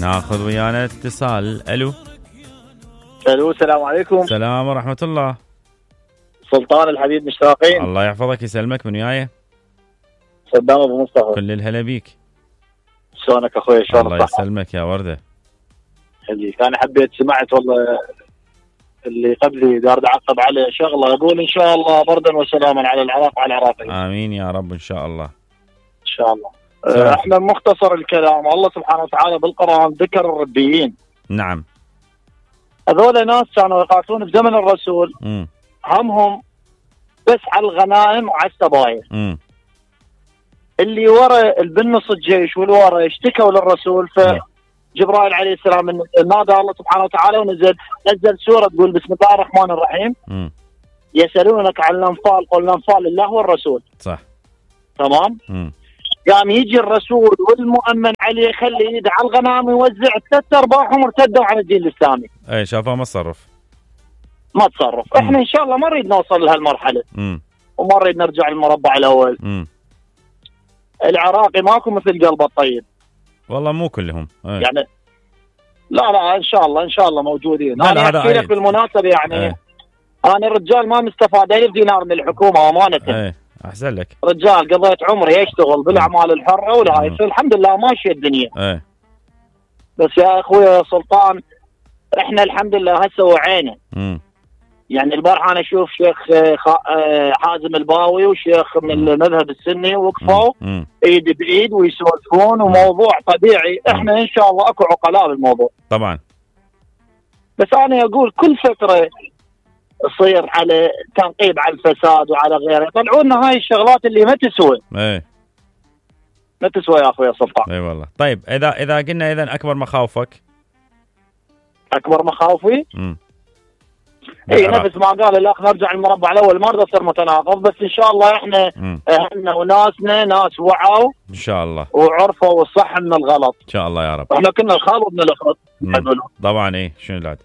ناخذ ويانا اتصال. الو السلام عليكم. السلام ورحمة الله. سلطان الحبيب مشتاقين. الله يحفظك يسلمك. من وياي؟ صدام ابو مصطفى. كل الهلا بيك. شلونك اخوي؟ شلونك؟ الله يسلمك يا وردة. خليك. انا حبيت سمعت والله اللي قبلي دار اعقب عليه شغله، اقول ان شاء الله بردا وسلاما على العراق وعلى العراقيين. امين يا رب ان شاء الله. ان شاء الله. احنا مختصر الكلام، الله سبحانه وتعالى بالقرآن ذكر الربيين. نعم. هذول ناس كانوا يقاتلون بزمن الرسول. همهم بس على الغنائم وعلى السبايا. اللي ورا البنص الجيش والورا اشتكوا للرسول، فجبرائيل عليه السلام نادى الله سبحانه وتعالى ونزل سورة تقول بسم الله الرحمن الرحيم. يسألونك عن الأنفال قل الأنفال لله والرسول. صح. تمام. قام يجي الرسول والمؤمن عليه يخلي ايده على الغنائم ويوزع 3 ارباعهم ارتدوا عن الدين الاسلامي. اي شافوا ما تصرف. احنا ان شاء الله ما نريد نوصل لهالمرحله. وما نريد نرجع للمربع الاول. العراقي ماكو مثل قلبه الطيب. والله مو كلهم. يعني لا ان شاء الله موجودين. انا احكي لك بالمناسبه يعني انا الرجال ما مستفاد 1000 دينار من الحكومه امانه. احسن لك. رجال قضيت عمري اشتغل بالاعمال الحره ولا الحمد لله ماشيه الدنيا. بس يا اخوي سلطان احنا الحمد لله هسه وعينا. يعني البارحه انا اشوف شيخ حازم الباوي وشيخ من المذهب السني وقفوا ايد بايد ويسولفون وموضوع طبيعي. احنا ان شاء الله اكو عقلاء بالموضوع طبعا. بس انا اقول كل فتره يصير على تنقيب على الفساد وعلى غيره، يطلعوا لنا هاي الشغلات اللي ما تسوى. ما تسوى يا اخوي سلطان. اي والله. طيب اذا قلنا اذا اكبر مخاوفك؟ اكبر مخاوفي اي نفس ما قال الاخ نرجع المربع الاول، ما اريد اصير متناقض، بس ان شاء الله احنا اهلنا وناسنا ناس وعوا ان شاء الله وعرفوا الصح من الغلط ان شاء الله يا رب. احنا كنا الخال وابن الاخت طبعا. ايه شنو العاد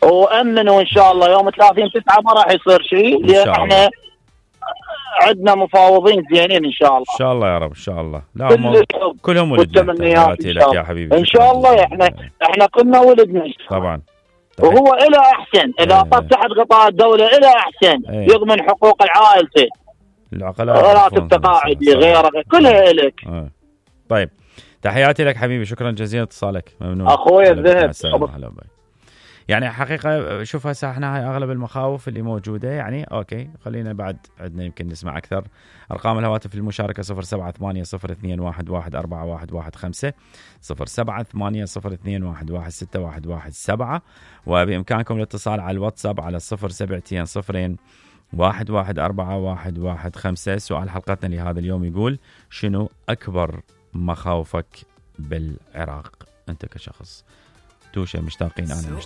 وامنوا ان شاء الله يوم 30/9 ما راح يصير شيء، لان احنا عندنا مفاوضين زينين ان شاء الله. ان شاء الله يا رب ان شاء الله. لا كلهم ولدنا. تحياتي لك يا حبيبي. ان شاء الله احنا كنا ولدنا طبعا. وهو الى احسن اذا طب تحت غطاء الدوله الى احسن يضمن حقوق العائلة العقلاء راتب تقاعدي غيره كلها الك. طيب تحياتي لك حبيبي، شكرا جزيلا اتصالك. ممنون اخوي الذهب. يعني حقيقة شوف هسه احنا هاي اغلب المخاوف اللي موجودة يعني اوكي. خلينا بعد عندنا يمكن نسمع اكثر. ارقام الهواتف للمشاركة 0780221115 078022116117 وبامكانكم الاتصال على الواتساب على 0720114115. سؤال حلقتنا لهذا اليوم يقول شنو اكبر مخاوفك بالعراق انت كشخص؟ توشة مشتاقين. انا